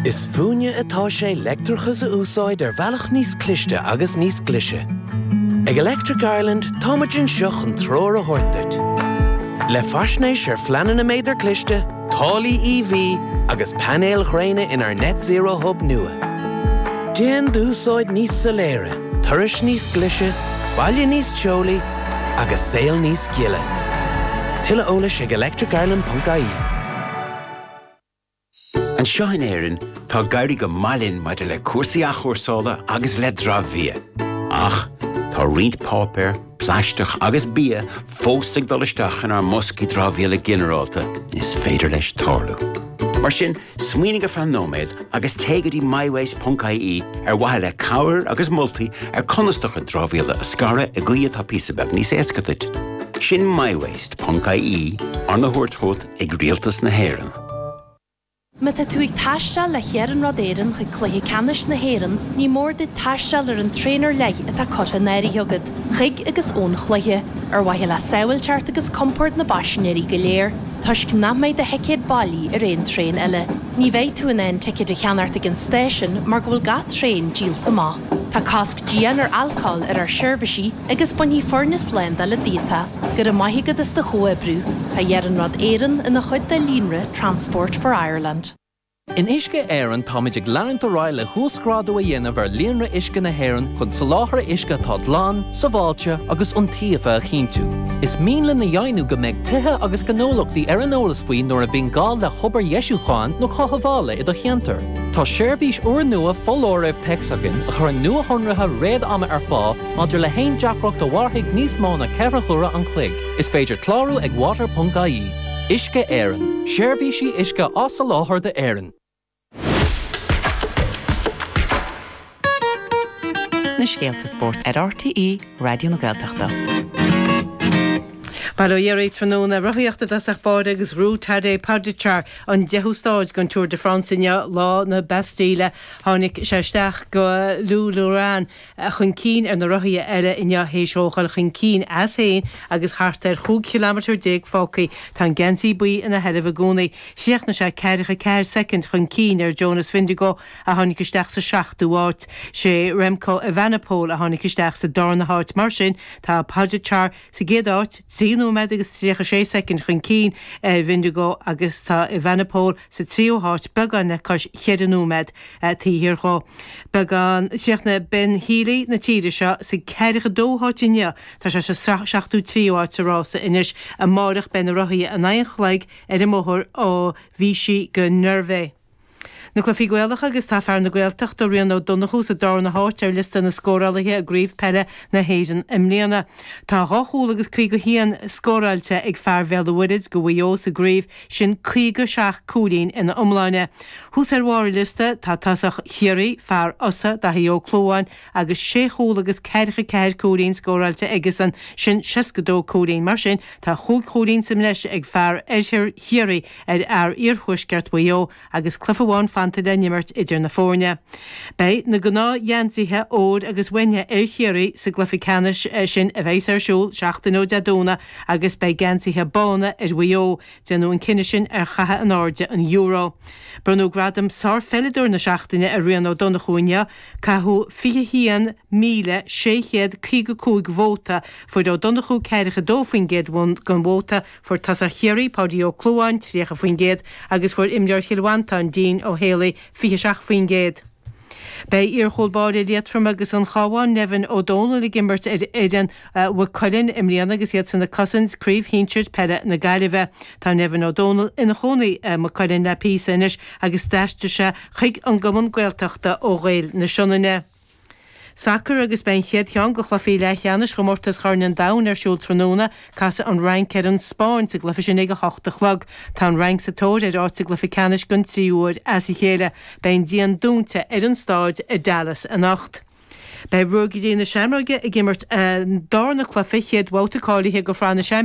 Is fúinne atá sé leictreachas a úsáid ar bhealach níos cliste agus níos glaise. Ag Electric Ireland táimid anseo chun treoir a thabhairt duit. Le faisnéis ar phleananna méadar cliste, táillí EV agus painéil ghréine inár Net Zero Hub nua. Déan d'úsáid níos soiléire, turais níos glaise, baile níos teolaí agus saol níos gile. Tuilleadh eolais ag electricireland.ie. Anseo in Éirinn, tá ag éirí go maith linn maidir le cúrsaí athchúrsála agus le dramhbhia. Ach tá roinnt páipéar, plaisteach agus bia fós ag dul isteach inár mboscaí dramhaíola ginearálta, is féidir leis tarlú. Mar sin, smaoinigh ar feadh nóiméad agus téigh go dtí mywaste.ie ar mhaithe le cabhair agus moltaí ar conas do chuid dramhaíola a scaradh i gcaoi atá píosa beag níos éasca duit. Sin mywaste.ie, arna thabhairt chugat ag Rialtas na hÉireann. Má tá tú ag taisteal le hIarnród Éireann chuig Cluiche Ceannais na hÉireann, ní mór duit taisteal ar an traein ar leith atá curtha in áirithe agat, chuig agus ón chluiche, ar mhaithe le sábháilteacht agus compord na bpaisinéirí go léir, toisc nach mbeidh do thicéad bailí ar aon traein eile. Ní bheidh tú in ann ticéid a cheannacht ag an stáisiún mar go bhfuil gach traein díolta amach. Tá cosc dian ar alcól ar ár seirbhísí agus bainfidh foirne slándála díot é. Go raibh maith agat as do chomhoibriú. Tá Iarnród Éireann ina chuid de líonra Transport for Ireland. In Uisce Éireann táimid ag leanúint ar aghaidh le huasghrádú a dhéanamh ar líonra uisce na hÉireann chun soláthar uisce atá glan, sábháilte agus iontaofa a chinntiú. Is mian linn a dheimhniú go mbeidh tithe agus gnólachtaí ar an eolas faoi nuair a bhíonn gá le hobair dheisiúcháin nó chothabhála i do cheantar. Tá seirbhís úrnua foláirimh téacs againn a chuireann nuashonruithe réad-ama ar fáil Maidir le haon deacracht a mhairfidh níos mó ná 4 huaire an chloig, is féidir clárú ag water.ie. Uisce Éireann, seirbhísí uisce á soláthar d'Éirinn. Na scéalta spóirt ar RTÉ Raidió na Gaeltachta. Bail ó Dhia oraibh tráthnóna. Rothaíocht i dtosach báire agus ghnóthaigh Tadej Pogačar an deichiú stáid den Tour de France inniu, lá na Bastille. Tháinig sé isteach go Lourmarin chun cinn ar na rothaithe eile inniu théis dó dhul chun cinn as féin agus thart ar 15 chileamatar fágtha. Tá an geansaí buí ina sheilbh i gcónaí. Chríochnaigh sé 44 soicind chun cinn ar Jonas Vingegaard a tháinig isteach sa seachtú háit. Sé Remco Evenepoel a tháinig isteach sa darna háit. Mar sin, tá Pogačar sa gcéad áit, 3 nóiméad agus 36 soicind chun cinn ar Vingegaard agus tá Evenepoel sa tríú háit, beagán le cois cheithre nóiméad taobh thiar dhó. Beagán, chríochnaigh Ben Healy na tíre seo sa ceathracha dóú háit inniu, tá sé sa seachtó tríú háit sa rása anois. Amáireach beidh na rothaithe in aghaidh an chloig ar an mbóthar ó Vichy go Nervei. Na cluichí Gaelacha agus tá fear na Gaeltachta, Rian Ó Donnchú sa darna háit ar liosta na scórálaithe i gCraobh Peile na hÉireann i mbliana. Tá 2 chúl agus 51 scóráilte ag fear Bhéal an Mhuirthead do Mhaigh Eo sa gcraobh, sin 57 cúilín ina iomláine. Thuas ar bharr an liosta tá tosach Chiarraí, fear Osa, Daithí Ó Clúmháin, agus sé chúl agus ceathracha ceathair cúilín scóráilte aigesan, sin 62 cúilín. Mar sin, tá chúig chúilín sa mbreis ag fear Oirthear Chiarraí ar fhear Iarthuaisceart Mhaigh Eo agus cluiche amháin fanta le n-imirt idir na foirne. Beidh na gnáthgheansaithe óir agus uaine ar Chiarraí sa gcluiche ceannais sin a bheas ar siúl seachtain ó Dé Domhnaigh agus beidh geansaithe bána ar Mhaigh Eo. Déanadh an cinneadh sin ar chaitheamh in airde an euro. Bronnadh gradam Sárpheileadóir na Seachtaine ar Rian Ó Donnchú inniu. Caitheadh 21,655 vóta. Fuair Ó Donnchú 42% den vóta. Fuair tosach Chiarraí, Páidí Ó Clúmháin, 30% agus fuair imreoir Chill Mhantáin, Dean Ó Héalaí, 27%. Beidh iar-chúl báire Liatroma agus an Chabháin, Nevin Ó Dónaill ag imirt ar fhoireann Mhaigh Cuilinn i mbliana agus iadsan ag cosaint Craobh Shinsir Peile na Gaillimhe. Tá Nevin Ó Dónaill ina chónaí i Maigh Cuilinn le píosa anois agus d'aistrigh sé chuig an gcumann Gaeltachta ó Ghaeil na Sionainne. Sacar agus beidh an chéad cheann de chluichí leathcheannais chomórtas Chorn an Domhain ar siúl tráthnóna. Casfaidh an Fhrainc ar an Spáinn sa gcluiche sin ag 8 a chlog. Tá an Fhrainc sa tóir ar áit sa gcluiche ceannais don tríú huair as a chéile. Beidh an díon dúnta ar an stáid i Dallas anocht. Beidh Ruagairí na Seamróige ag imirt a ndarna cluiche chéad bhabhta cáilithe do Shraith na.